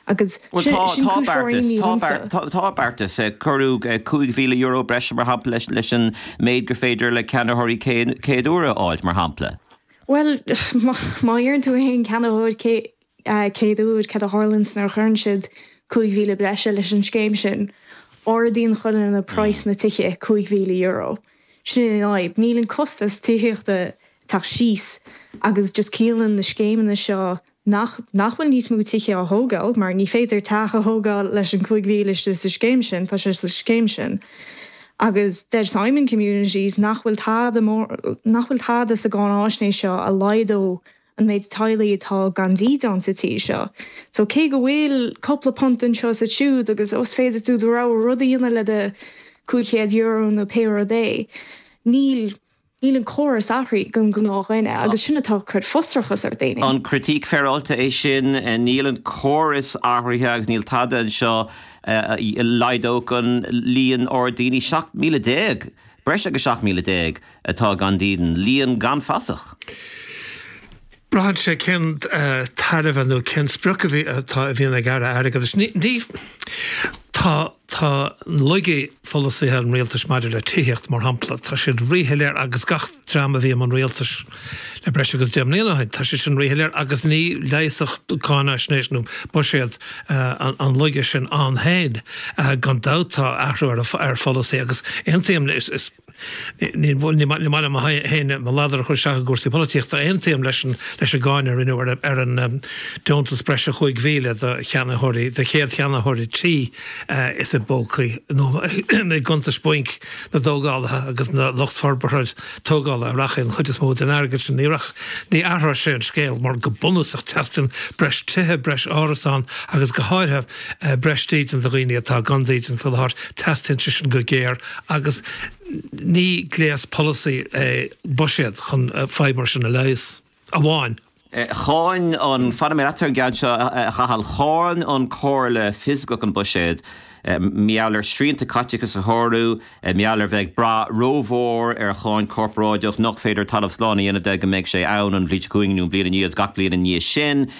Agus Bhuel sin tá, sin tá cúis mhór beartas, imní tá dhomsa. beart, tá, tá beartas. Cuireadh €5,000 breise, mar shampla, leis, leis an méid gur féidir le ceannaitheoirí céad, céad uaire a fháilt, mar shampla. Bhuel, má, má iarrann tú ar aon cheannaitheoir cé, céad uair, cad a tharlaíonns nuair a chuireann siad 5,000 breise leis an scéim sin? Ardaíonn chuile dhuine praghas na tithe €5,000. Sin an fhadhb. Níl an costas tithíochta ag teacht síos agus just ciallaíonn na scéimeanna seo nach nach bhfuil níos mó tithe á thógáil mar ní féidir teach a thógáil leis an 5,000 istigh sa scéim sin, tá sé sa scéim sin. Agus deir Simon Communities nach bhfuil tada mór, nach bhfuil tada sa gcáináisnéis seo a laghdódh an méid teaghlaigh atá gan dídean sa tír seo. So cé go bhfuil cúpla punt anseo is ansiúd agus ó is féidir tú do rogha rud a dhéanamh le do €500 nó pé rud é, níl níl an córas athraithe don ghnáthdhuine agus sin atá ag cur frustrachas ar daoine. An critique féaráilte é sin? Níl an córas athraithe agus níl tada anseo a laghdódh an líon ard daoine, 17,000, breis agus 17,000, atá gan dídean, líon gan fasach. Braitheann sé cén tairbhe nó cén sprioc a bhí atá a bhíonn ag Aire Airgeadais. Ní ní tá tá laigí pholasaithe an rialtais maidir le tithíocht mar shampla, tá siad ríshoiléir agus gach dream a bhí i mbun rialtais le breis agus 10 mbliana ó shin, tá siad sin ríshoiléir agus ní leigheasfadh cáinaisnéis nó buiséad an laige sin ann féin. Gan dabht tá athrú ar ar pholasaí agus aontaím is is Ní maith liom féin mo ladar a chur isteach i gcúrsaí polaitíochta. Aontaím leis an leis an gcáineadh a rinneadh ar an deontas breise 5,000 do cheannaitheoirí, do chéad cheannaitheoirí tí is i bpócaí nó i gcuntais bainc na dtógálaithe agus na lucht forbartha tógála a rachaidh an chuid is mó den airgead sin. Ní rach, ní athróidh sé an scéal mar go bunúsach teastaíonn breis tithe, breis árasán agus go háirithe breis dídean do dhaoine atá gan dídean faoi láthair. Teastaíonn sé sin go géar. Agus ní gléas polasaí é buiséad chun fadhb mar sin a leigheas amháin. Cháin an, fanfaidh mé leat ar an gceann seo, a Chathail, cháin an Comhairle Fioscach an buiséad mar gheall ar srianta caiteachais a shárú, mar gheall ar bheith ag brath rómhór ar cháin chorparáideach nach féidir talamh slán a dhéanamh de go mbeidh sé ann an bhliain seo chugainn nó an bhliain i ndiaidh gach bliain i ndiaidh sin.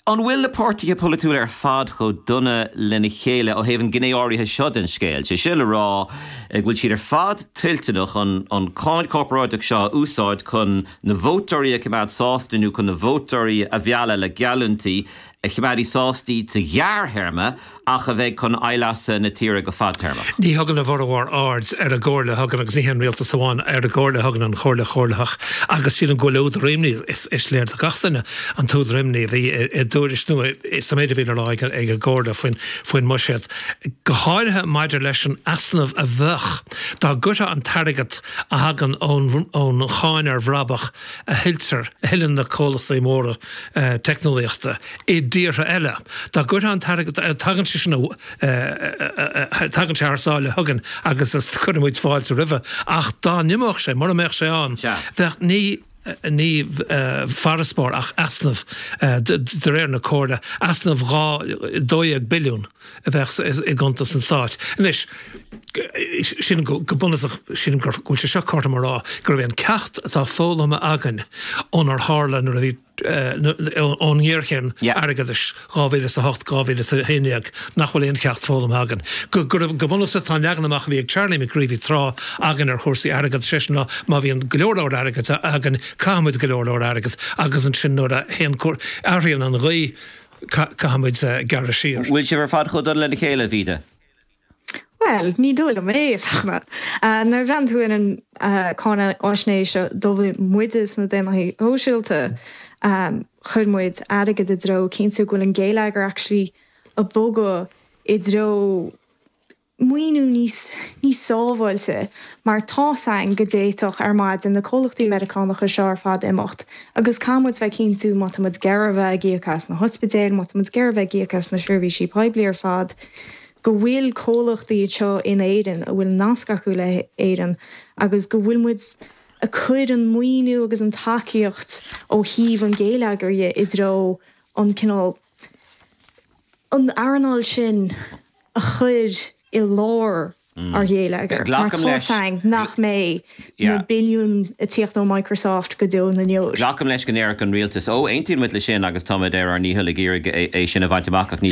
An bhfuil na páirtithe polaitiúla ar fad chomh dona lena chéile ó thaobh an ghné áirithe seo den scéal, sé sin le rá go bhfuil siad ar fad toilteanach an cháin chorparáideach seo a úsáid chun na vótóirí a choimeád sásta nó chun na vótóirí a mhealladh le geallúintí a choimeádfaidh sásta iad sa ghearrthéarma ach a bheidh chun aimhleasa na tíre go fadtéarmach. Ní thugann a bhformhór aird ar an gcomhairle a thugann, agus ní hé an rialtas amháin, ar an gcomhairle a thugann an Chomhairle Chomhairleach agus sílim go bhfuil údar imní, is léir do gach duine an t-údar imní a bhí i dtuairisc nó sa méid a bhí le rá ag an gComhairle faoin mbuiséad, go háirithe maidir leis an easnamh a bheadh dá gcuirfeá an t-airgead a thagann ón cháin ar bhrabach a thuilltear, a thuilleann na comhlachtaí móra teicneolaíochta. i dtíortha eile. Dá gcuirfeá an t-airgead, tagann sé sin, tagann sé thar sáile chugainn agus is cuireann muid fáilte roimhe, ach dá n-imeodh sé, mura mbeadh sé ann, bheadh ní, ní farasbarr ach easnamh, de réir na Comhairle, easnamh 12 billiún a bheadh i gcuntas an stáit. Anois, sílim go bunúsach, sílim go bhfuil sé seo cothrom a rá, gurb é an ceacht atá foghlamtha againn ónar tharla nuair a bhí, ón ngéarchéim airgeadais 2008, 2011 nach bhfuil aon cheacht foghlamtha againn. Go bunúsach tá an leagan amach a bhí ag Charlie McCreevy tráth againn ar chúrsaí airgeadais, sé sin ná má bhíonn go leor leor airgid againn, caithfimid go leor leor airgid agus ansin nuair a théann, athraíonn an ghaoth, caithfimid gearradh siar. Bhfuil sibh ar fad chomh dona lena chéile, a Mhíde? Bhuel, ní dóigh liom é, a Fhachtna. Nuair a bhreathnaíonn tú ar an cáinaisnéis a d'ullmhaigh muide sna Daonlathaithe Sóisialta, chuir muid airgead i dtreo cinntiú go bhfuil an geilleagar actually ag bogadh i dtreo maoiniú níos níos sábháilte mar tá's againn go d'fhéadfadh ar maidin na comhlachtaí Meiriceánacha seo ar fad imeacht agus caithfidh muid bheith cinntiú má tá muid ag iarraidh a bheith ag íoc as na hospidéil, má tá muid ag iarraidh a bheith ag íoc as na seirbhísí poiblí ar fad, go bhfuil comhlachtaí anseo in Éirinn a bhfuil nasc acu le hÉirinn agus go bhfuil muid ag cur an maoiniú agus an tacaíocht ó thaobh an gheilleagair dhe i dtreo an cineál an earnáil sin a chur i lár ár gheilleagair mar tá's againn nach mbeidh na billiúin ag tíocht ó Microsoft go deo na ndeor. Glacaim leis go ndéarfadh an rialtas, Ó, aontaíonn muid leis sin agus táimid ar ár ndícheall ag iarraidh é sin a bhaint amach ach ní.